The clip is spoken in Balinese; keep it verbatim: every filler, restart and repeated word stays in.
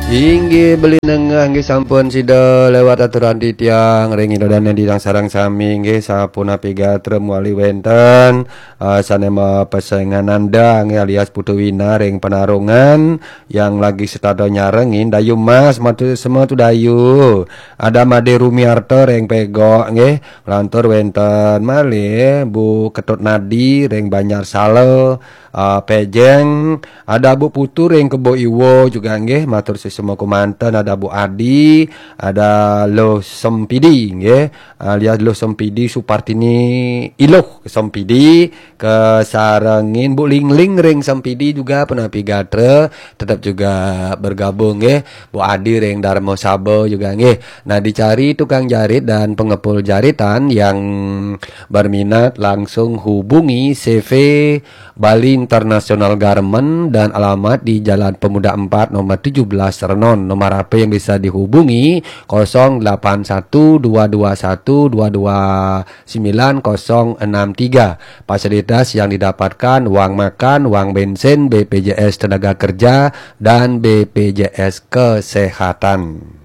Inggih, beli nengah nggih, sampun sida lewat aturan titiang ring ida dane titiang sareng sami nggih, sapunapi gatra mawali wenten, eh, sane mapesengan Nanda nggih, alias Putu Wina ring Penarungan, yang lagi setada nyarengin Dayu Mas, matur sema tu Dayu. Ada Made Rumiarta ring Pegok nggih, lantur wenten malih Bu Ketut Nadi ring Banjar Sala, ah, Pejeng, ada Bu Putu ring Kebo Iwo juga nggih, matur sesama kemanten, ada Bu Adi, ada Luh Sempidi nggih, alias Luh Sempidi Supartini Iluh Sempidi, kesarengin Bu Lingling ring Sempidi juga punapi gatra, tetap juga bergabung nggih, Bu Adi ring Darma Saba juga nggih. Nah, dicari tukang jarit dan pengepul jaritan yang berminat langsung hubungi C V Bali International Garment dan alamat di Jalan Pemuda empat nomor tujuh belas Renon. Nomor H P yang bisa dihubungi kosong delapan satu dua dua satu dua dua sembilan kosong enam tiga. Fasilitas yang didapatkan: uang makan, uang bensin, B P J S tenaga kerja, dan B P J S kesehatan.